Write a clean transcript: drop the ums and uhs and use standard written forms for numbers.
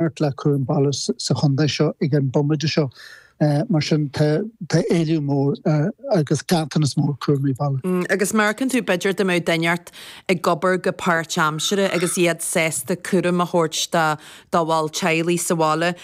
fanacht le cúram baile sa chontae seo ag an bomaite seo. Mar sin tá éileamh mór agus ganntanas mór cúraimí baile. Agus an amharcann tú b'fhéidir dá mbeadh duine inteacht ag obair go páirtaimseartha agus iad sásta cúram a thabhairt dá bhaill teaghlaigh sa bhaile.